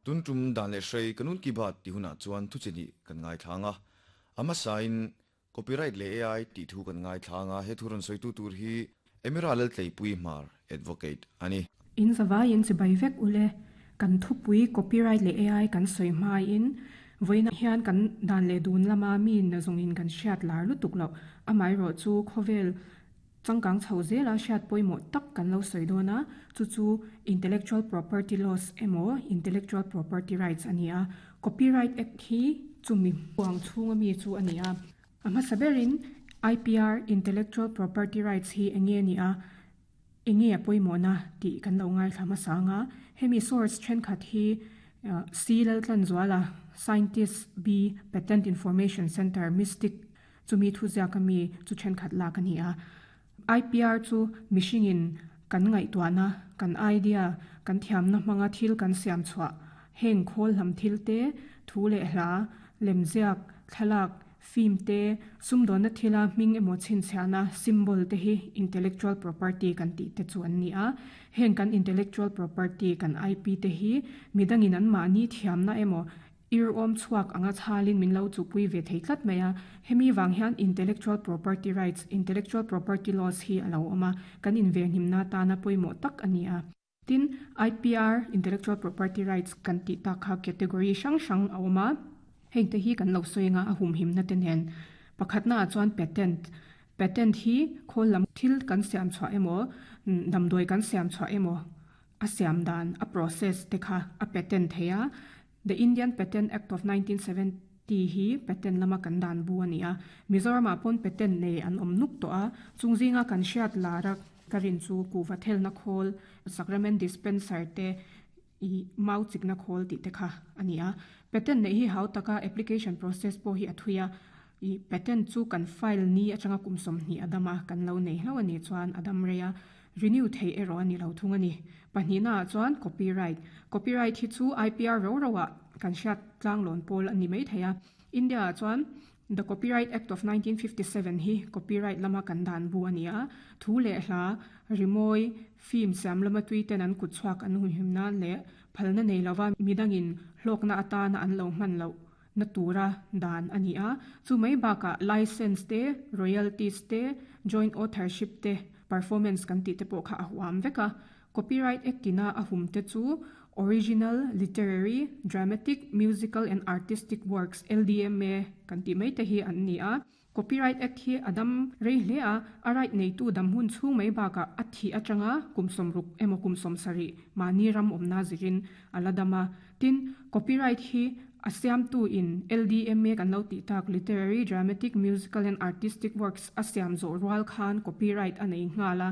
Tun tum dan leh hrei Kanun Ki Baat tih hunah chuan thu chi hnih kan ngaithlang a, a hmasain Copyright leh AI tih thu kan ngaithlang a, he thu rawn sawitu tur hi Emira Laltleipui Hmar Advocate a ni. In zavaiin chibai vek ule, kan thupui Copyright leh AI kan sawi hmain vawiinah hian kan dan leh dun lama mi nazawngin kan hriat lar lutuk loh, amaherawhchu khawvel Changkang chho zela hriat pawimawh tak kan lo sawi dawn a, chu chu Intellectual Property Laws emaw Intellectual Property Rights a ni a. Copyright Act hi chumi huang chhunga mi chu a ni a. A hmasa berin IPR, Intellectual Property Rights, hi eng nge a nih a, eng nge a pawimawhna tih kan lo ngaithla hmasa ang a. Hemi source thenkhat hi C. Laltlanzuala, Scientist B, Patent Information Centre, Mystic, Chumi thuziak a mi chu thenkhat lak a ni a. IPR chu mihringin kan ngaihtuahna, kan idea, kan thiamna hmanga thil kan siam chhuah, heng khawl hlam thil te, thu leh hla, lemziak, thlalak, film te, sumdawnna thila hming emaw chhinchhiahna, symbol, te hi intellectual property kan tih te chu an ni a. Heng kan intellectual property, kan IP te hi midangin anmahni thiamna emaw Ir awm chhuak anga chhalin min lo chupui ve thei tlat mai a, hemi vang hian Intellectual Property Rights, Intellectual Property Laws, hi a lo awm a, kan invenhimna atana pawimawh tak a ni a. Tin, IPR, Intellectual Property Rights, kan tih tak kha category hrang hrang a awm a, heng te hi kan lo sawi anga a humhimna te nen. Pakhatna ah chuan Patent, Patent hi khawl lam thil kan siam chhuah emaw, damdawi kan siam chhuah emaw, a siam dan, a process te kha a patent thei a. The Indian Patent Act of 1970 hi patent lama kan dan bu a ni a. Mizoramah pawn patent nei an awm nuk tawh a, chung zinga kan hriat lar a ka rin chu kuhva thelna khawl, sacrament dispenser te, ih mau chikna khawl tih te kha a ni a. Patent neih hi hau taka application process pawh hi a thui a, ih patent chu kan file ni atanga kum 20 a dam a, kan lo nei hlauh a nih chuan a dam rei a. Renew theih erawh a ni lo thung a ni. Pahnihna ah chuan copyright. Copyright hi chu IPR ro ro ah kan hriat tlanglawn pawl a ni mai thei a. India ah chuan The Copyright Act of 1957 hi copyright lama kan dan bu a ni a. Thu leh hla, rimawi, film siam lama tui ten an kut chhuak an humhim nan leh phalna nei lova midangin hlawkna atana an lo hman loh na tura dan a ni a. Chu mai bakah license te, royalties te, joint authorship te, performance kan tih te pawh kha a huam vek a. Copyright Act ina a hum te chu Original, Literary, Dramatic, Musical and Artistic Works, LDMA, kan tih mai te hi an ni a. Copyright Act hi a dam rei hle a, a right neitu dam hun chhung mai bakah a thih atanga kum 60 emaw kum 70 mahni ram awmna zirin a la dam a. Tin, copyright hi a siamtu in LDMA kan lo tih tak Literary, Dramatic, Musical and Artistic Works a siam zawh rual khan copyright a nei nghal a.